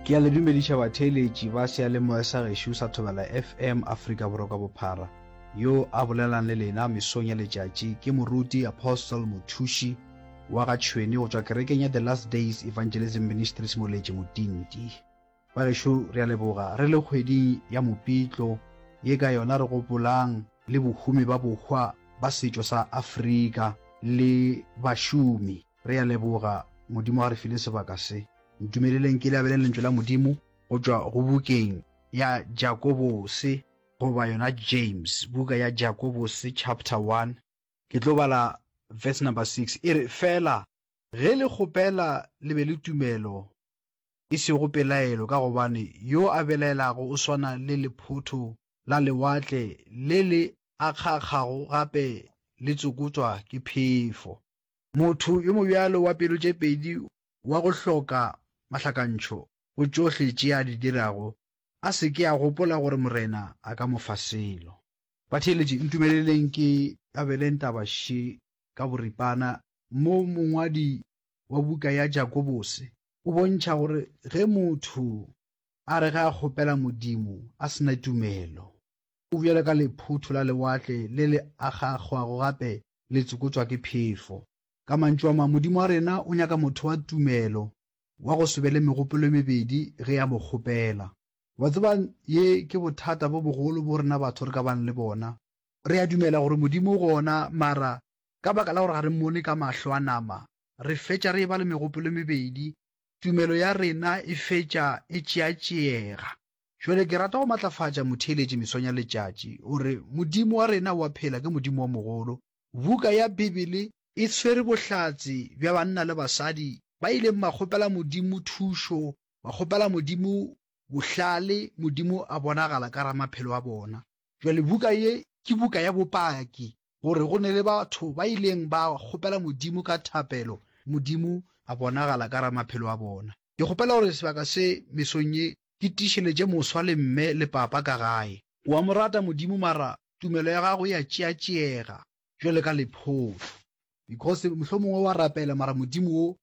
Ke a le dumediša batheeletši ba seyalemoya sa gešo sa Thobela FM Afrika Borwa ka bophara. Yo a bolelang le lena mesong ya letšatši ke Moruti Apostle Mothuši wa ga Tšhwene go tšwa kerekeng ya The Last Days Evangelism Ministries Moletši Motinti. Bagešo re a leboga re le kgweding ya Mopitlo ye ka yona re gopolang le bohumi ba bohwa ba setšo sa Afrika le bašomi. Re a leboga Modimo a re file sebaka se. Ntumeleleng ke le abeleng lentšu la Modimo go tšwa go bukeng ya Jakobose goba yona James, buka ya Jakobose chapter 1. Ke tlo bala verse number 6, e re, Fela ge le kgopela le be le tumelo, e sego pelaelo, ka gobane yo a belaelago o swana le lephotho la lewatle le le akgaakgago gape le tsokotšwa ke phefo. Motho yo mobjalo wa pelo tše pedi wa go hloka mahlakantšho go tšohle tše a di dirago, a se ke a gopola gore Morena a ka mo fa selo. Batheeletši, ntumeleleng ke abeleng taba še ka boripana. Mo mongwadi wa buka ya Jakobose o bontšha gore ge motho a re ge a kgopela Modimo a se na tumelo, o bjalo ka lephotho la lewatle le le akgaakgwago gape le tsokotšwa ke phefo. Ka mantšu a mangwe, Modimo wa rena o nyaka motho wa tumelo, wa go se be le megopolo e mebedi ge a mo kgopela. Wa tseba, ye ke bothata bo bogolo bo rena batho re ka bang le bona. Re a dumela gore Modimo o gona, mara ka baka la gore ga re mmone ka mahlo a nama, re fetša re eba le megopolo e mebedi, tumelo ya rena e fetša e tšeatšeega. Jwale ke rata go matlafatša motheeletši mesong ya letšatši gore Modimo wa rena o a phela, ke Modimo wa mogolo. Buka ya Bibele e tshwere bohlatse bja banna le basadi ba ileng ba kgopela Modimo thušo, ba kgopela Modimo bohlale, Modimo a bonagala ka gare maphelo a bona. Jwale buka ye ke buka ya bopaki gore go ne le batho ba ileng ba kgopela Modimo ka thapelo, Modimo a bonagala ka gare maphelo a bona. Ke kgopela gore sebaka se mesong ye ke tiišeletše moswa le mme le papa ka gae. O a mo rata Modimo mara tumelo ya gago e a tšeatšeega jwale ka lephotho. Because mohlomongwe wa rapela mara Modimo wo.